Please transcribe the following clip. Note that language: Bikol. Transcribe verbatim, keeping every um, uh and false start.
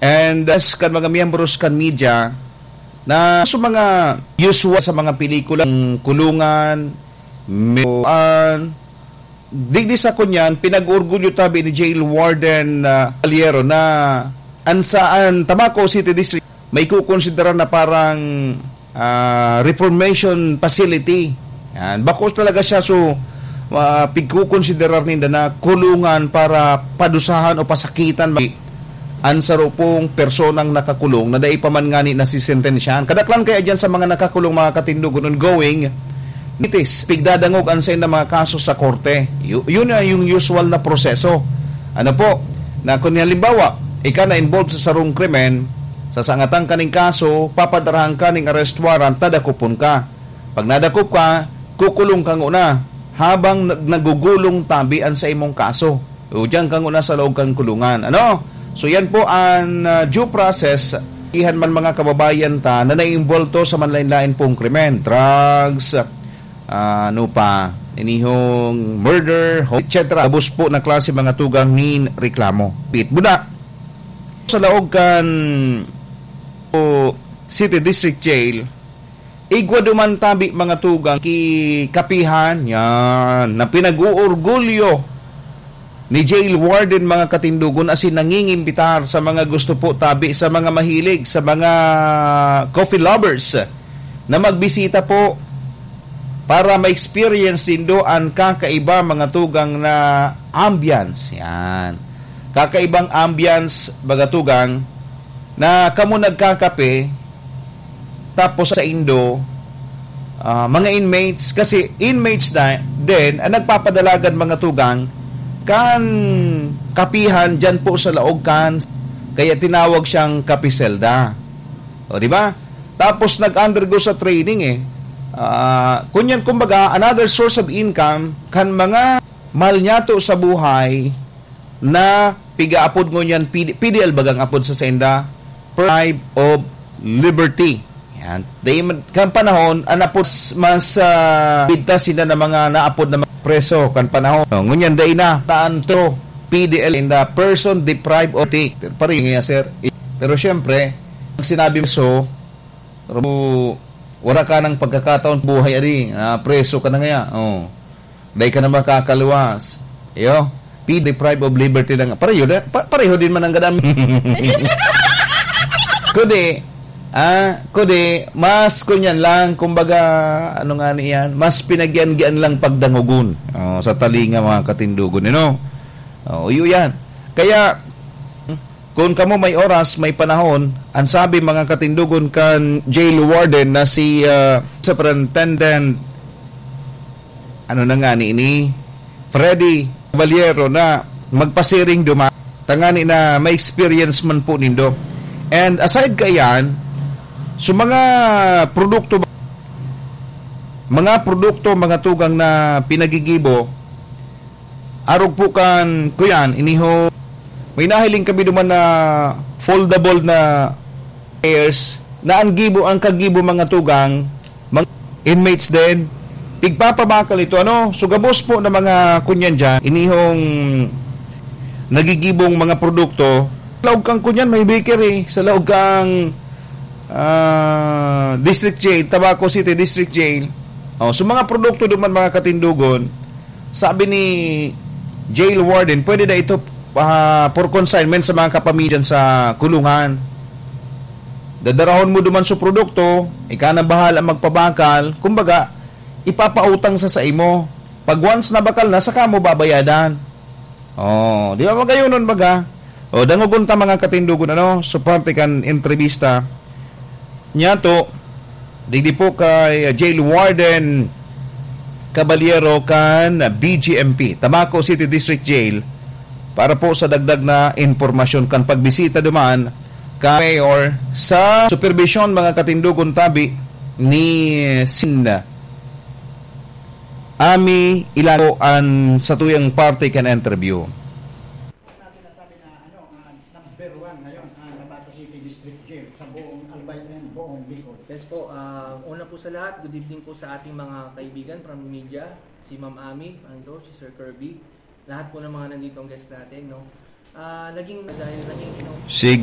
And as kan mga miyembros kan media, na sa mga usual sa mga pelikulang kulungan, may, ah, digdi sa kunyan, pinag-orgulyo tabi ni Jail Warden, ah, Caballero na an saan Tabaco City District may kukonsidera na parang, ah, reformation facility. Yan. Bako talaga siya, so, ah, pigkukonsiderar ninda na kulungan para padusahan o pasakitan an saro pong personang nakakulong na dai pa man ngani nasisentensyahan. Kadaklan kaya diyan sa mga nakakulong, mga katindogon, ongoing, nitis, pigdadangog an saindang mga kaso sa korte. Yu-, yun na yung usual na proseso. Ano po, na kung halimbawa, ika na involved sa sarong krimen, sasangatan ka ning kaso, papadarahan ka ning arrest warrant, tadakupon ka. Pag nadakop ka, kukulong ka nguna habang nag-, nagugulong tabi an sa imong kaso. O diyan ka nguna sa laog kan kulungan. Ano? So yan po ang, ah, due process. Ihan man mga kababayan ta na naiinvolto sa manlain-lain pong krimen, drugs, ah, ano pa, inihong murder, ho-, et cetera. Gabos po na klase mga tugang nin reklamo. Pit buda. Sa laog kan o City District Jail, igwa duman tabi mga tugang ki kapihan, yan, na pinag-uorgulyo ni Jail Warden, mga katindogon, asin nangingimbitar sa mga gusto po tabi, sa mga mahilig, sa mga coffee lovers na magbisita po para ma-experience nindo an kakaiba mga tugang na ambience. Yan. Kakaibang ambience, baga tugang, na kamo nagkakape, tapos sa indo, ah, mga inmates, kasi inmates na din ang nagpapadalagan mga tugang kan kapihan dyan po sa laog kan, kaya tinawag siyang kapiselda. O, di ba? Tapos nag-undergo sa training eh. Ah, kunyan, kumbaga, another source of income kan mga malnyato sa buhay na pigaapod ngunyan P D, P D L bagang apod sa senda, Deprive of Liberty. Yan. Dahil man, kan panahon, ang apod mas, ah, bigtas sila na mga naapod na mga preso kan panahon. Oh, ngunyan, dahil na, taan to, P D L in the person deprived of liberty. Pero, pero yun nga, sir. Pero siyempre, pag sinabi mo so, ro-, wala ka ng pagkakataon buhay ari, ah, preso ka na ngaya. Oh. Dai ka na makakaluwas. Iyo, be deprived of liberty na nga. Pareho na, pa-, pareho din man ang gadam. Kundi, ah, kundi, mas kunyan lang, kumbaga, ano nga niyan, mas pinagyan-gian lang pagdangogon. Oh, sa talinga, mga katindogon, you know? Oh, iyo yan. Kaya, kung kamo may oras, may panahon, ang sabi, mga katindogon, kan jail warden na si, ah, Superintendent, ano na nga ni ini, Freddy Caballero, na magpasiring duma, tangani na may experience man po nindo. And aside kaiyan, so mga produkto, mga produkto, mga tugang na pinagigibo, arog po kan kuyan, iniho, may nahiling kami duman na foldable na chairs, na ang gibo, ang kagibo mga tugang, mga inmates din, igpapabakal ito. Ano? So, gabos po na mga kunyan dyan, inihong nagigibong mga produkto. Sa laog kang kunyan, may bakery. Sa laog kang, ah, District Jail, Tabaco City District Jail. Oh, so, mga produkto duman, mga katindogon, sabi ni jail warden, pwede na ito, ah, for consignment sa mga kapamilyan sa kulungan. Dadarahon mo duman sa produkto, ika na bahala magpabakal. Kumbaga, ipapautang sa saimo. Pag once na bakal na, saka mo babayadan. Oh, di ba magayonon baga? O, dangogon ta mga katindogon, ano? So, parte kan entrevista. Nyato, digdi po kay Jail Warden Caballero kan B G M P, Tabaco City District Jail, para po sa dagdag na impormasyon kan pagbisita duman ka Mayor sa supervision, mga katindogon, tabi ni Sin Ami Ilago an sa tuyang parte kan interview. Natin nasabi na, ano, ah, number one ngayon ang Tabaco City District Jail sa buong Albay and buong Bicol. Yes po, ah, una po sa lahat, good evening po sa ating mga kaibigan from media, si Ma'am Ami, Andrew, si Sir Kirby, lahat po ng mga nandito ang guest natin, no? Ah, naging, dahil naging, you know, Sige.